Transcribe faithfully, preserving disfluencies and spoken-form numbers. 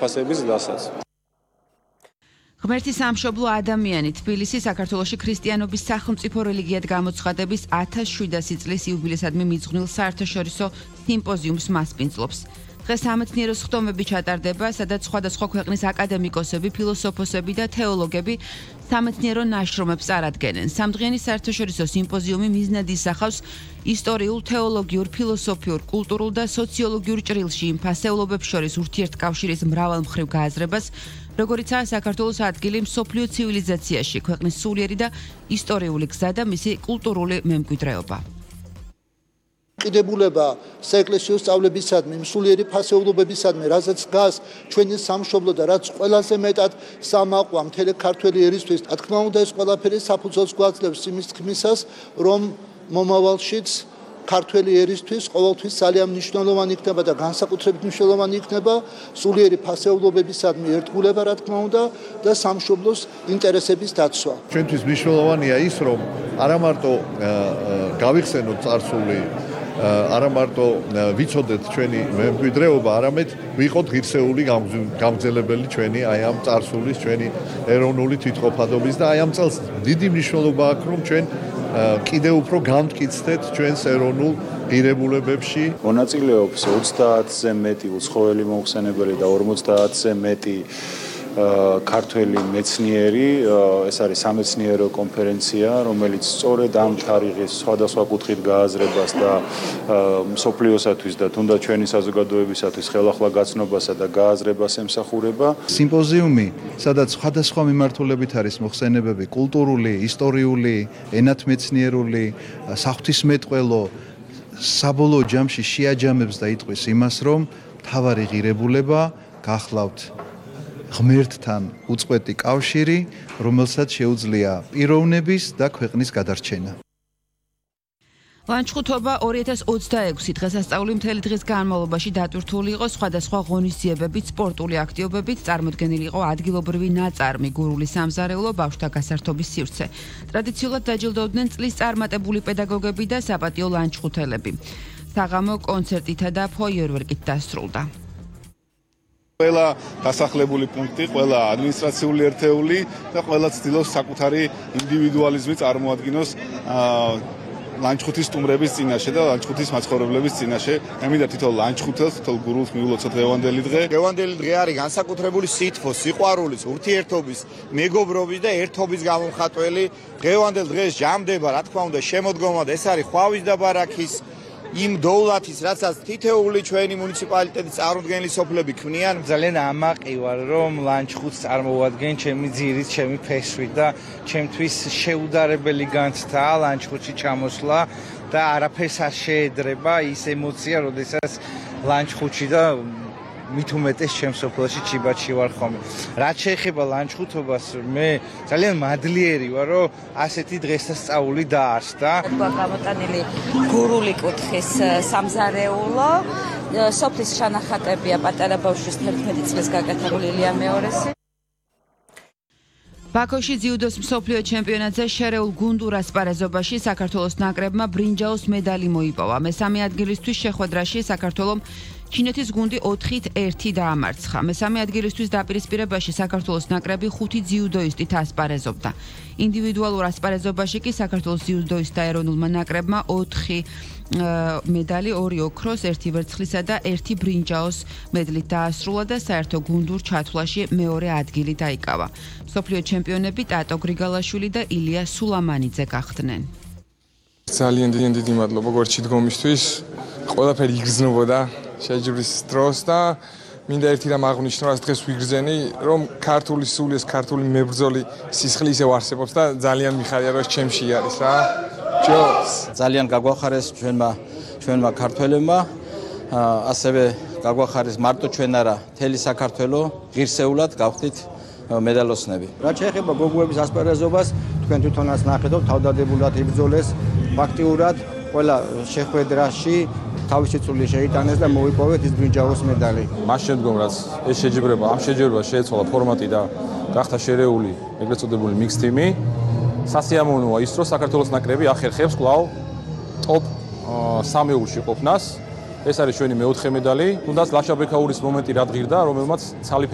ფასების დასაც. ღმერთის სამშობლო ადამიანი თბილისი საქართველოში ქრისტიანობის სახელმწიფო რელიგიად გამოცხადების ათას შვიდასი წლის იუბილესადმი მიძღვნილ საერთაშორისო სიმპოზიუმს მასპინძლობს. დღეს სამეცნიერო სხდომები ჩატარდება, სადაც სხვადასხვა ქვეყნის აკადემიკოსები, ფილოსოფოსები და თეოლოგები სამეცნიერო ნაშრომებს წარადგენენ. სამდღიანი საერთაშორისო სიმპოზიუმი მიზნად ისახავს ისტორიულ, თეოლოგიურ, ფილოსოფიურ, კულტურულ და სოციოლოგიურ ჭრილში იმ ფასეულობებს შორის ურთიერთკავშირის მრავალმხრივ გააზრებას, როგორიცაა საქართველოს ადგილი მსოფლიო ცივილიზაციაში, ქვეყნის სულიერი და ისტორიული გზა და მისი კულტურული მემკვიდრეობა. ყიდებულება საეკლესიო სწავლებისადმი, მსულიერი ფასეულობებისადმი, რაზეც დგას ჩვენი სამშობლო და რაც ყველაზე მეტად სამაყვა მთელი ქართველი ერისთვის, რა თქმა უნდა, ეს ყველაფერი საფუძველს გვაძლევს იმის თქმისას, რომ მომავალშიც ქართველი ერისთვის ყოველთვის ძალიან მნიშვნელოვანი იქნება და განსაკუთრებით მნიშვნელოვანი იქნება სულიერი ფასეულობებისადმი ერთგულება, რა თქმა უნდა, და სამშობლოს ინტერესების დაცვა. ჩვენთვის მნიშვნელოვანია ის, რომ არა მარტო გავიხსენოთ წარსული, არა მარტო ვიცოდეთ ჩვენი მემკვიდრეობა, არამედ ვიყოთ ღირსეული გამგზელებელი ჩვენი აი ამ წარსულის, ჩვენი ეროვნული თვითყოფადობის და აი ამ წელს დიდი მნიშვნელობა აქვს, რომ ჩვენ კიდევ უფრო გამტკიცდეთ ჩვენს ეროვნულ ღირებულებებში. მონაწილეობს ოცდაათზე მეტი უცხოელი მოხსენებელი და ორმოცდაათზე მეტი ქართველი მეცნიერი. ეს არის სამეცნიერო კონფერენცია, რომელიც სწორედ ამ თარიღის სხვადასხვა კუთხით გააზრებას და მსოფლიოსათვის და თუნდაც ჩვენი საზოგადოებისათვის ხელახლა გაცნობასა და გააზრებას ემსახურება. სიმპოზიუმი, სადაც სხვადასხვა მიმართულებით არის მოხსენებები კულტურული, ისტორიული, ენათმეცნიერული, საღვთისმეტყველო, საბოლოო ჯამში შეაჯამებს და იტყვის იმას, რომ მთავარი ღირებულება გახლავთ ღმერთთან უწყვეტი კავშირი, რომელსაც შეუძლია პიროვნების და ქვეყნის გადარჩენა. ლანჩხუთობა ორი ათას ოცდაექვსი დღესასწაული მთელი დღის განმავლობაში დატვირთული იყო სხვადასხვა ღონისძიებებით, სპორტული აქტივობებით, წარმოდგენილი იყო ადგილობრივი ნაწარმი, გურული სამზარეულო, ბავშვთა გასართობის სივრცე. ტრადიციულად დაჯილდოვდნენ წლის წარმატებული პედაგოგები და საპატიო ლანჩხუთელები. საღამო კონცერტითა და ფოიერვერკით დასრულდა. ყველა დასახლებული პუნქტი, ყველა ადმინისტრაციული ერთეული და ყველა ცდილობს საკუთარი ინდივიდუალიზმი წარმოადგინოს ლანჩხუთის სტუმრების წინაშე და ლანჩხუთის მაცხოვრებლების წინაშე. ემიდა თითოეულ ლანჩხუთელს, თითოეულ გურულს მიულოცოთ დღევანდელი დღე. დღევანდელი დღე არის განსაკუთრებული სითბოს, სიყვარულის, ურთიერთობის, მეგობრობის და ერთობის გამომხატველი. დღევანდელ დღეს ჟამდება, რა თქმა უნდა, შემოდგომა და ეს არის ხვავის და ბარაქის იმ დოვლათის, რასაც თითოეული ჩვენი მუნიციპალიტეტის წარმოდგენილი სოფლები ქმნიან. ძალიან ამაყი ვარ, რომ ლანჩხუთს წარმოვადგენ ჩემი ძირით, ჩემი ფესვით და ჩემთვის შეუდარებელი განცდაა ლანჩხუთში ჩამოსვლა და არაფერს არ შეედრება ის ემოცია, როდესაც ლანჩხუთში და მით უმეტეს ჩემს სოფელში ჩიბათში ვარ ხოლმე. რაც შეეხება ლანჩხუთობას, მე ძალიან მადლიერი ვარ, რომ ასეთი დღესასწაული დაარსდა. გამოტანილი გურული კუთხის სამზარეულო, სოფლის შანახატებია პატარა ბავშვის თერთმეტი წლის გაკეთებული ილია მეორესი. ბაქოში ძიუდოს მსოფლიო ჩემპიონატზე შერეულ გუნდურ ასპარეზობაში საქართველოს ნაკრებმა ბრინჯაოს მედალი მოიპოვა. მესამე ადგილისთვის შეხვედრაში საქართველომ ჩინეთის გუნდი ოთხით ერთი დაამარცხა. მესამე ადგილისთვის დაპირისპირებაში საქართველოს ნაკრები ხუთი ძიუდოისტით ასპარეზობდა. ინდივიდუალურ ასპარეზობაში კი საქართველოს ძიუდოისტთა ეროვნულმა ნაკრებმა ოთხი მედალი, ორი ოქროს, ერთი ვერცხლისა და ერთი ბრინჯაოს მედლით დაასრულა და საერთო გუნდურ ჩათვლაში მეორე ადგილი დაიკავა. მსოფლიო ჩემპიონები ტატო გრიგალაშვილი და ილია სულამანიძე გახდნენ. ძალიან დიდი მადლობა გვერდში დგომისთვის. ყველაფერი იგრძნობოდა შეჯიბრის დროს და მინდა ერთი რამ აღვნიშნო, რაც დღეს ვიგრძენი, რომ ქართული სულიეს, ქართული მებრძოლი სისხლი ისევ არსებობს და ძალიან მიხარია, რომ ჩემში არის რა. ჯოს ძალიან გაგვახარეს ჩვენმა ჩვენმა ქართველებმა, ასევე გაგვახარეს მარტო ჩვენ არა, მთელი საქართველო ღირსეულად გავხდით მედალოსნები. რაც შეეხება გოგოების ასპარეზობას, თქვენ თვითონაც ნახეთ, თავდადებულად იბრძოლეს, ფაქტიურად ყველა შეხვედრაში თავისი წვლილი შეიტანეს და მოიპოვეთ ის ბრინჯაოს მედალი. მას შემდგომ რაც ეს შეჯიბრება, ამ შეჯიბრებას შეეცვალა ფორმატი და გახდა შერეული ეგრეთ წოდებული მიქს თიმი. სასიამოვნოა ის, რომ საქართველოს ნაკრები ახერხებს კვლავ ტოპ სამეულში ყოფნას. ეს არის ჩვენი მეოთხე მედალი. თუნდაც ლაშა ბექაურის მომენტი რა დღირდა, რომელმაც ცალი